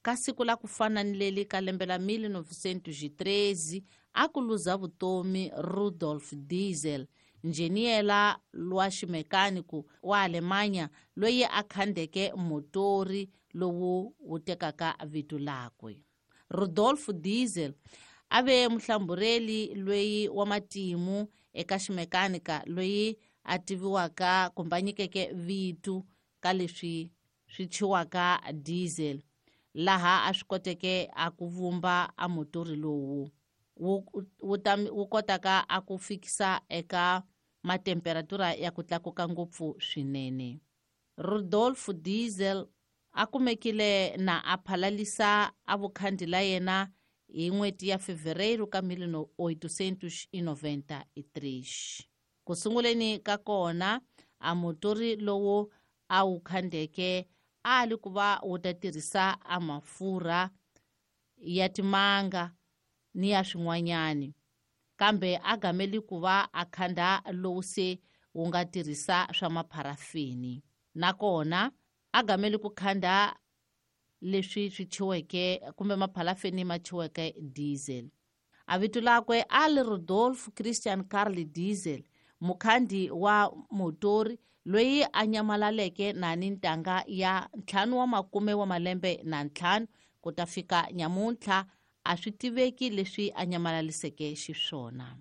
Ka siku la ku fana ni leli ka lembe la 1913 a ku luza vutomi Rudolf Diesel, njheniyela lwa ximekaniko wa Alemanya loyi a khandeke motori lowu wu tekaka vito lakwe. Rudolf Diesel a ve muhlambureli loyi wa matimu eka ximekanika loyi a tiviwaka kumbe a nyikeke vito ka leswi swi thyiwaka diesel, laha a swi koteke a ku vumba a motori lowu wu kotaka a ku fikisa eka matemperatura ya ku tlakuka ngopfu swinene. Rudolf Diesel a kumekile na a phalalisa a vukhandi la yena hi n'hweti ya Fevereiro ka 1893. Ku sunguleni ka kona a motori lowu a wu khandeke a li ku va wu ta tirhisa a mafurha ya timanga ni ya swin'wanyani, kambe a gameli ku va a khanda lowu se wu nga tirhisa swa mapharafini. Nakona a gameli ku khanda leswi swi thyiweke kumbe mapharafini ma thyiweke diesel. A vito lakwe a li Rudolf Christian Karl Diesel, mukhandi wa motori loyi a nyamalaleke na ni ntanga ya 50 wa malembe na 5 ku ta fika nyamuntlha a swi tiveki leswi a nyamalaliseke xiswona.